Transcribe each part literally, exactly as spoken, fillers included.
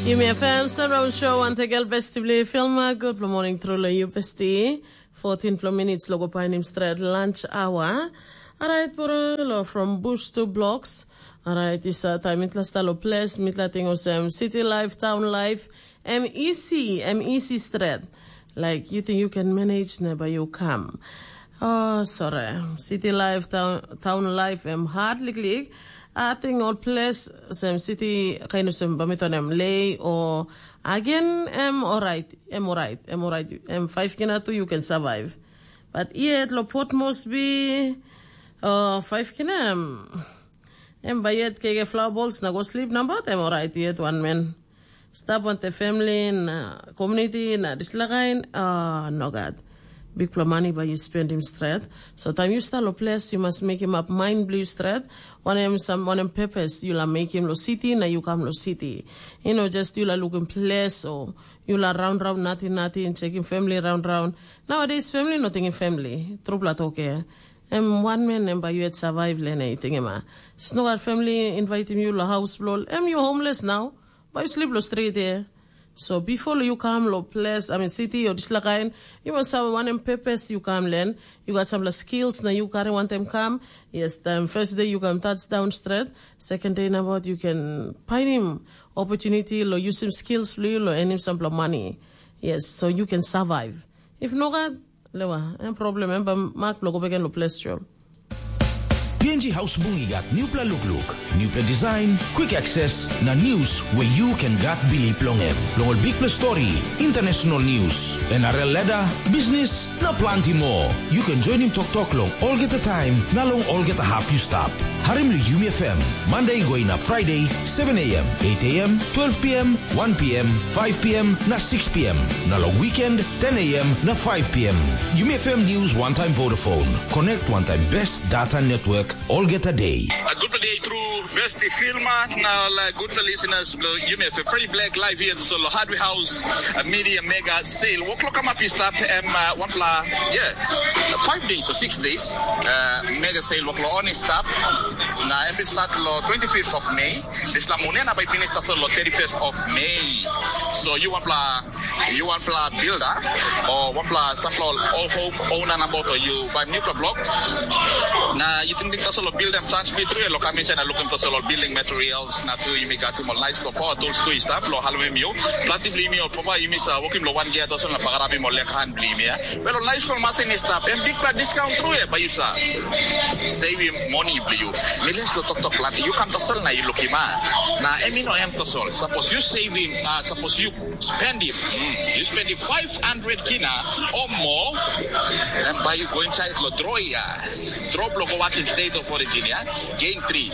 Yumi F M Surround Show, ante gel besti bli filma, good morning through lo you besti. Fourteen plo minutes lo go painim stret lunch hour. Alright, puro lo from bush to blocks. Alright, you sa time mitla sta lo place, mitla ting osem city life, town life, M E C, M E C stret. Like, you think you can manage, never you come. Oh, sorry. City life, town, town life, em hard liklik. I think all place, sem city, kain of sem bamiton em lay or again, em alright, em alright, em alright. Em five kina too, you can survive. But yet, lo pot must be, uh, five kina, em, em by yet kege flower balls, na go sleep, na but em alright yet, one man. Stap wantaim family na community na dispela kain, ah, no gat. Bikpela mani bai yu spendim stret. So taim yu stap lo ples, yu mas mekim ap mind bilong yu stret. Wanem sam wanem purpose yu la mekim lo city na yu kam lo city. You know, just yu la lukim ples o yu la raun raun nating nating, checking family raun raun. Nowadays family no tingim family. Trupela toke. Em wan men em bai yu et survive lene tingim a. Just no gat family invitim yu lo haus bilong em yu homeless now. Bai yu slip lo street here. So before you come lo place, I mean city or dislakain, you must have one purpose you come learn. You got some skills na you carry one time come. Yes, time first day you come touch down straight. Second day na about you can find him opportunity lo use him skills lo you lo and him some money. Yes, so you can survive. If no God, lewa, em problem em ba mak lo go back lo place job. P N G House Bungi gat newpela lukluk, newpela design, quick access na news where you can gat bilip long em. Long ol bikpela story, international news, N R L ladder, business, na planti more. You can join him tok tok long olgeta time na long olgeta hap you stap. Harim lo Yumi F M, Monday go inap Friday, seven a.m., eight a.m., twelve p.m., one p.m., five p.m. na six p.m. Na long weekend, ten a.m. na five p.m. Yumi F M News one time Vodafone. Connect one time best data network olgeta day. A good day through best filma na la good listeners lo Yumi F M Free Black live here so lo Hardware House, a media mega sale. Wo klok ama pista em uh, one pla, yeah, five days or six days. Uh, mega sale wo klok oni stap. Na em start lo twenty-fifth of May. This la mune na by finish so lo thirty-first of May. So you want pla you want pla builder or want pla sample all home owner number to you by new block. Na you think think so lo build them chance me through lo commission and looking for solo building materials na tu you me got him all nice for power tools to start lo halwem you. Planti bli mi or papa you miss uh, working lo one gear to so na pagarabim or lek hand bli mi. Well nice for machine start and big discount through by you sir. Save him money bli you. Millions lo tok tok planti you come to sell na you look him ah. Na em no em to sell. Suppose you save him, uh, suppose you spend him, mm, you spend him five hundred kina or more, and by you go inside lo draw ya. Draw lo go watch him state of origin ya. Game three.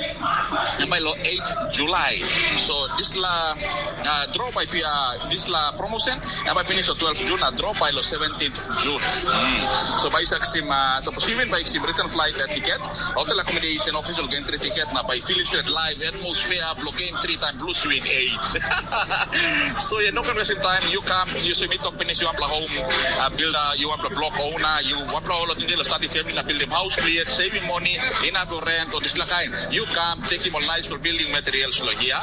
And by lo eight July. So this la uh, draw by P R, this la promotion, and by finish lo twelve June, uh, draw by lo seventeenth June. Mm. So by Saxim, uh, so even by Sim written flight uh, ticket, hotel accommodation, official game three ticket, na by Philip Street live atmosphere, block game three time blue swing eight. So yeah, no conversion time. You come, you see me talk finish, you want home uh, builder, you want block owner, you want all of the deal, starting family, na build them house clear, saving money, in a rent or this kind. You come, check him on nice for building materials lo here.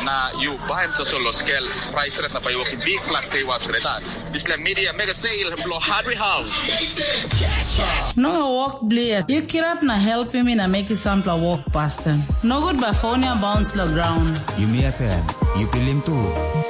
Na you buy him to solo scale price rate na by working big plus say was rate. This like media mega sale blow hardware house. No wok blier. Yu kirap na helpim mi na mekim sampela wok pasten. Nogut bai fon ya bauns long graun. Yumi F M, yu pilim tu.